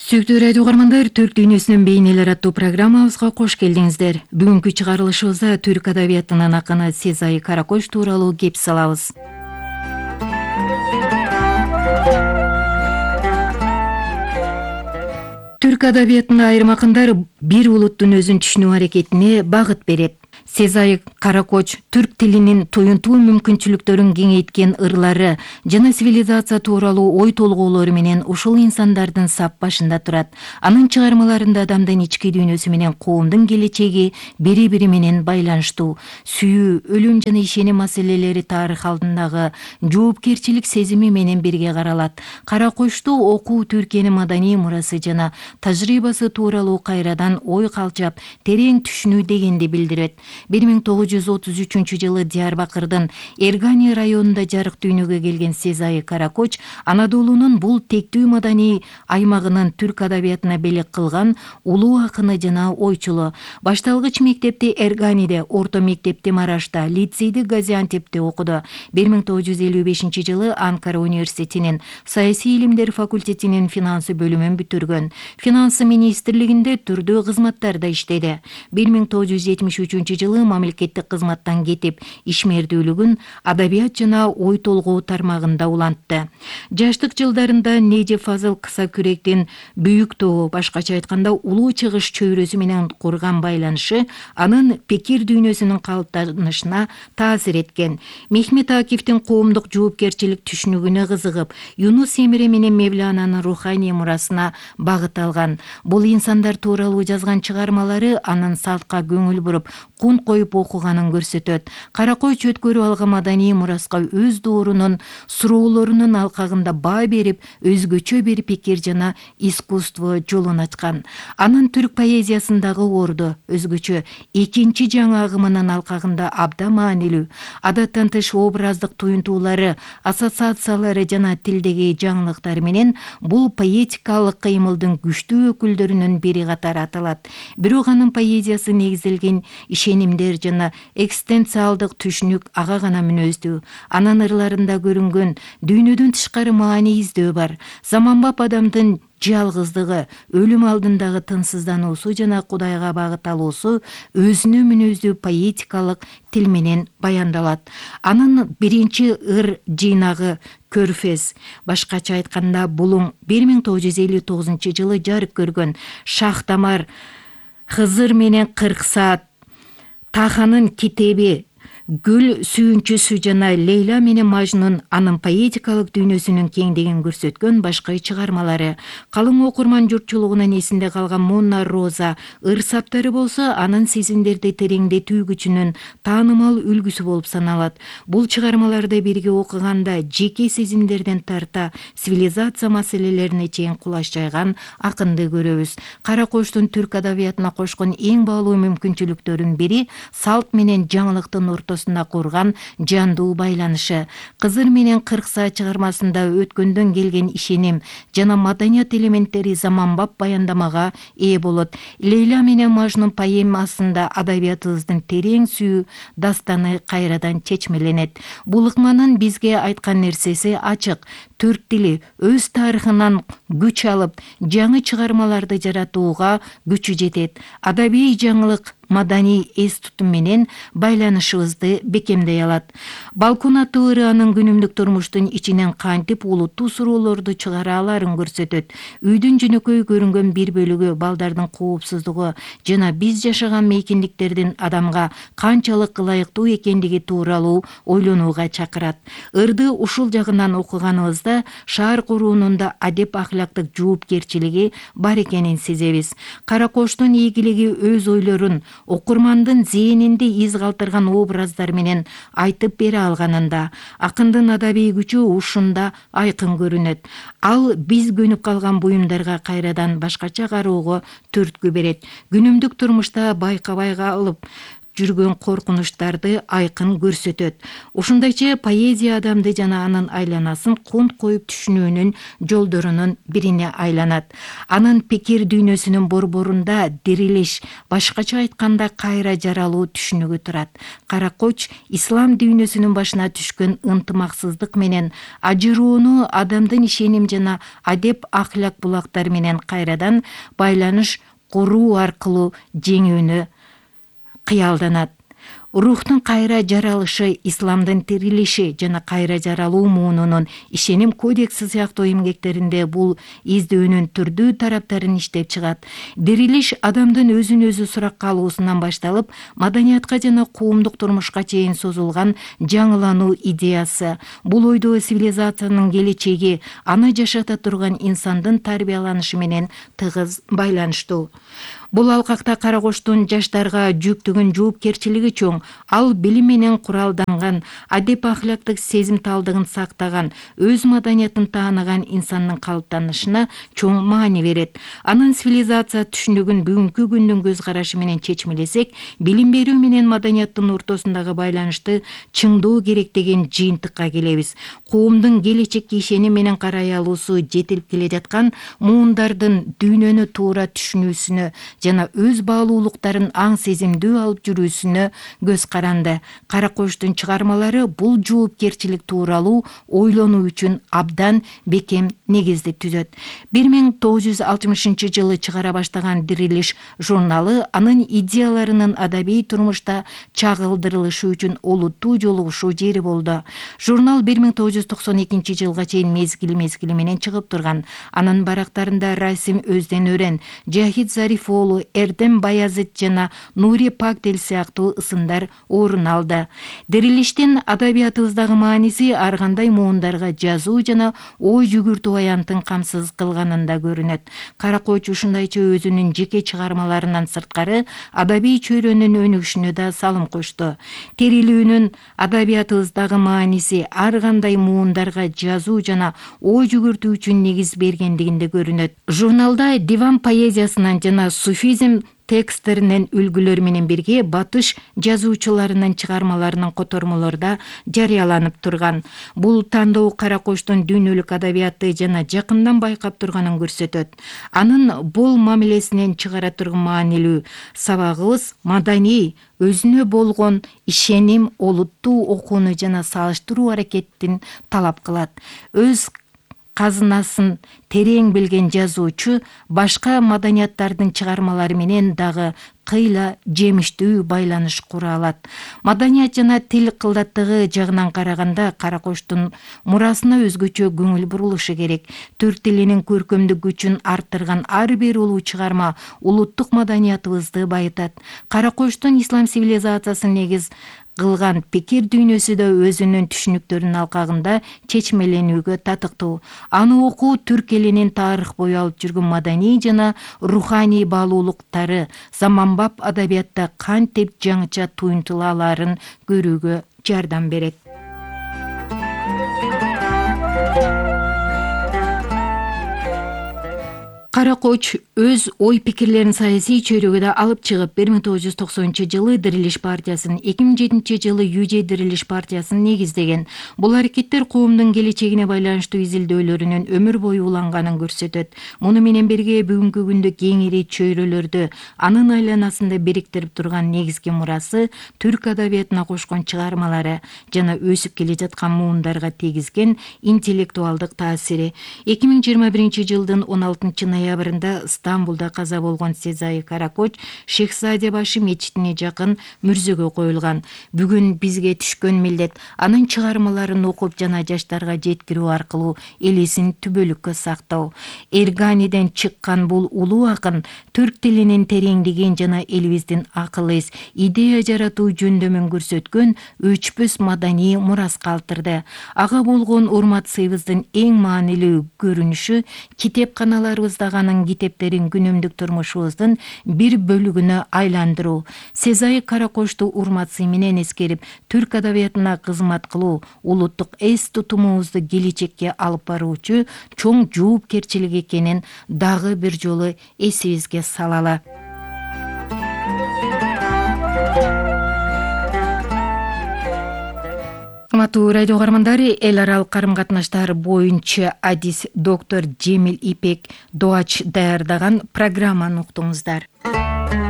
Сүйүктүү радио угармандар, Түрк дүйнөсүнүн бейнелери аттуу программабызга кош келдиңиздер. Бүгүнкү чыгарылышыбызда түрк адабиятынын акыны Сезай Каракоч тууралуу кеп салабыз. Түрк адабиятында айрым акындар бир улуттун өзүн түшүнүү аракетине багыт берет. Сезай Каракоч түрк тилинин туюнтуу мүмкүнчүлүктөрүн кеңейткен ырлары жана цивилизация тууралуу ой толгоолору менен ушул инсандардын сап башында турат. Анын чыгармаларында адамдын ички дүйнөсү менен коомдун келечеги бири-бири менен байланыштуу. Сүйүү, өлүм жана ишеним маселелери тарых алдындагы жоопкерчилик сезими менен бирге каралат. Каракочту окуу Түркиянын маданий мурасы жана тажрыйбасы тууралуу кайрадан ой калчап, терең түшүнүү дегенди билдирет. 1933-жылы Диярбакырдын Эргани районунда жарык дүйнөгө келген Сезай Каракоч Анадолунун бул тектүү маданий аймагынын түрк адабиятына белек кылган улуу акыны жана ойчулу. Башталгыч мектепти Эрганиде, орто мектепти Марашта, лицейди Газиантепте окуду. 1955-жылы Анкара университетинин саясий илимдер факультетинин финансы бөлүмүн бүтүргөн. Финансы министрлигинде түрдүү кызматтарда иштеди. 1973-жылы мамлекеттик кызматтан кетип, ишмердүүлүгүн адабият жана ой толгоо тармагында улантты. Жаштык жылдарында Неже Фазыл кыса күректин Бүйүк Тоо, башкача айтканда Улуу Чыгыш чөйрөсү менен курган байланышы анын пикир дүйнөсүнүн калыптанышына таасир эткен. Мехмет Акифтин коомдук жоопкерчилик түшүнүгүнө кызыгып, Юнус Эмре менен Мевлананын руханий мурасына багыт алган. Бул инсандар тууралуу жазган чыгармалары анын салтка көңүл буруп, кун коюп окуганын көрсөтөт. Каракоч өткөрүп алган маданий мураска өз доорунун суроолорунун алкагында баа берип, өзгөчө бир пикир жана искусство жолун ачкан. Анын түрк поэзиясындагы орду өзгөчө, экинчи жаңы агымынын алкагында абдан маанилүү. Адаттан тыш образдык туюнтуулары, ассоциациялары жана тилдеги жаңылыктары менен бул поэтикалык кыймылдын күчтүү өкүлдөрүнүн бири катары аталат. Бирок анын поэзиясы негизделген ишенимдер жана экзистенциалдык түшүнүк ага гана мүнөздүү. Анын ырларында көрүнгөн дүйнөдөн тышкары маани издөө бар. Заманбап адамдын жалгыздыгы, өлүм алдындагы тынсыздануусу жана Кудайга багыт алуусу өзүнө мүнөздүү поэтикалык тил менен баяндалат. Анын биринчи ыр жыйнагы Көрфез, башкача айтканда Булуң, 1959-жылы жарык көргөн. Шахтамар, Хызыр менен 40 саат, Таханын китеби, Гүл сүйүнчүсү жана Лейла менен Мажнун анын поэтикалык дүйнөсүнүн кеңдигин көрсөткөн башка чыгармалары. Калың окурман журтчулугунун эсинде калган Монна Роза ыр саптары болсо анын сезимдерди тереңдетүү күчүнүн таанымал үлгүсү болуп саналат. Бул чыгармаларды бирге окуганда жеке сезимдерден тарта цивилизация маселелерине чейин кулаш жайган акынды көрөбүз. Каракочтун түрк адабиятына кошкон эң баалуу мүмкүнчүлүктөрүнүн бири салт менен жаңылыктын курган жандуу байланышы. Кызыр менен 40 саат чыгармасында өткөндөн келген ишеним жана маданият элементтери заманбап баяндамага ээ болот. Лейла менен Мажнун поэмасында адабиятыбыздын терең сүйүү дастаны кайрадан чечмеленет. Бул ыкманын бизге айткан нерсеси ачык. Түрк тили өз тарыхынан күч алып, жаңы чыгармаларды жаратууга күчү жетет. Адабий жаңылык маданий эс тутум менен байланышыбызды бекемдей алат. Балкон аттуу ыры анын күнүмдүк турмуштун ичинен кантип улуттуу суроолорду чыгара аларын көрсөтөт. Үйдүн жөнөкөй көрүнгөн бир бөлүгү балдардын коопсуздугу жана биз жашаган мейкиндиктердин адамга канчалык ылайыктуу экендиги тууралуу ойлонууга чакырат. Ырды ушул жагынан окуганыбызда шаар куруунун да адеп ахлактык жоопкерчилиги бар экенин сезебиз. Каракочтун ийгилиги өз ойлорун окурмандын зээнинде из калтырган образдар менен айтып бере алганында. Акындын адабий күчү ушунда айкын көрүнөт. Ал биз көнүп калган буюмдарга кайрадан башкача кароого түрткү берет. Күнүмдүк турмушта байкабай калып жүргөн коркунучтарды айкын көрсөтөт. Ушундайча поэзия адамды жана анын айланасын кунт коюп түшүнүүнүн жолдорунун бирине айланат. Анын пикир дүйнөсүнүн борборунда дирилиш, башкача айтканда кайра жаралуу түшүнүгү турат. Каракоч ислам дүйнөсүнүн башына түшкөн ынтымаксыздык менен ажыроону адамдын ишеним жана адеп ахлак булактары менен кайрадан байланыш куруу аркылуу жеңүүнү кыялданат. Рухтун кайра жаралышы, исламдын тирилиши жана кайра жаралуу муунунун ишеним кодекси сыяктуу эмгектеринде бул издөөнүн түрдүү тараптарын иштеп чыгат. Дирилиш адамдын өзүн өзү суракка алуусунан башталып, маданиятка жана коомдук турмушка чейин созулган жаңылануу идеясы. Бул ойдо цивилизациянын келечеги, аны жашата турган инсандын тарбияланышы менен тыгыз байланыштуу. Бул алкакта Каракочтун жаштарга жүктөгөн жоопкерчилиги чоң. Ал билим менен куралданган, адеп ахлактык сезимталдыгын сактаган, өз маданиятын тааныган инсандын калыптанышына чоң маани берет. Анын цивилизация түшүнүгүн бүгүнкү күндүн көз карашы менен чечмелесек, билим берүү менен маданияттын ортосундагы байланышты чыңдоо керек деген жыйынтыкка келебиз. Коомдун келечекке ишеним менен карай алуусу жетилип келе жаткан муундардын дүйнөнү туура түшүнүүсүнө жана өз баалуулуктарын аң сезимдүү алып жүрүүсүнө көз каранды. Каракочтун чыгармалары бул жоопкерчилик тууралуу ойлонуу үчүн абдан бекем негизди түзөт. 1960-жылы чыгара баштаган Дирилиш журналы анын идеяларынын адабий турмушта чагылдырылышы үчүн олуттуу жолугушуу жери болду. Журнал 1992-жылга чейин мезгил менен чыгып турган. Анын барактарында Расим Өзден-Өрен, Жахит Зарифоолу, Эрдем Баязит жана Нури Пактел сыяктуу ысымдар орун алды. Дирилиштин адабиятыбыздагы мааниси ар кандай муундарга жазуу жана ой жүгүртүү аянтын камсыз кылганында көрүнөт. Каракоч ушундайча өзүнүн жеке чыгармаларынан сырткары адабий чөйрөнүн өнүгүшүнө да салым кошту. Терилүүнүн адабиятыбыздагы мааниси ар кандай муундарга жазуу жана ой жүгүртүү үчүн негиз бергендигинде көрүнөт. Журналда диван поэзиясынан жана суфизм тексттеринен үлгүлөр менен бирге батыш жазуучуларынын чыгармаларынын котормолору да жарыяланып турган. Бул тандоо Каракочтун дүйнөлүк адабиятты жана жакындан байкап турганын көрсөтөт. Анын бул мамилесинен чыгара турган маанилүү сабагыбыз маданий, өзүнө болгон ишеним, олуттуу окууну жана салыштыруу аракетин талап кылат. Өз казынасын терең билген жазуучу башка маданияттардын чыгармалары менен дагы кыйла жемиштүү байланыш кура алат. Маданият жана тил кылдаттыгы жагынан караганда Каракочтун мурасына өзгөчө көңүл бурулушу керек. Түрк тилинин көркөмдүк күчүн арттырган ар бир улуу чыгарма улуттук маданиятыбызды байытат. Каракочтун ислам цивилизациясын негиз кылган пикир дүйнөсү да өзүнүн түшүнүктөрүнүн алкагында чечмеленүүгө татыктуу. Аны окуу түрк элинин тарых бою алып жүргөн маданий жана руханий баалуулуктары заманбап адабиятта кантип жаңыча туюнтула алаарын көрүүгө жардам берет. Каракоч өз ой пикирлерин саясий чөйрөгө алып чыгып, 1990-жылы Дирилиш партиясын, 2007-жылы ЮЖ Дирилиш партиясын негиздеген. Бул аракеттер коомдун келечегине байланыштуу изилдөөлөрүнүн өмүр бою уланганын көрсөтөт. Муну менен бирге бүгүнкү күндө кеңири чөйрөлөрдү анын айланасында бириктирип турган негизги мурасы түрк адабиятына кошкон чыгармалары жана өсүп келе жаткан муундарга тийгизген интеллектуалдык таасири. 2021-жылдын 16-ноябрында Стамбулда каза болгон Сезай Каракоч Шехзаде башы мечитине жакын мүрзөгө коюлган. Бүгүн бизге түшкөн милдет анын чыгармаларын окуп жана жаштарга жеткирүү аркылуу элесин түбөлүккө сактоо. Эрганиден чыккан бул улуу акын түрк тилинин тереңдигин жана элибиздин акыл-эс, идея жаратуу жөндөмүн көрсөткөн өчпөс маданий мурас калтырды. Ага болгон урмат сыйыбыздын эң маанилүү көрүнүшү китепканаларыбыздагы анын китептерин күнүмдүк турмушубуздун бир бөлүгүнө айландыруу. Сезай Каракочту урмат сый менен эскерип, түрк адабиятына кызмат кылуу улуттук эс тутумубузду келечекке алып баруучу чоң жоопкерчилик экенин дагы бир жолу эсибизге салалы. урматтуу радио каармандары, эл аралык карым катнаштар боюнча адис доктор Жемил Ипек Доач даярдаган программаны уктуңуздар.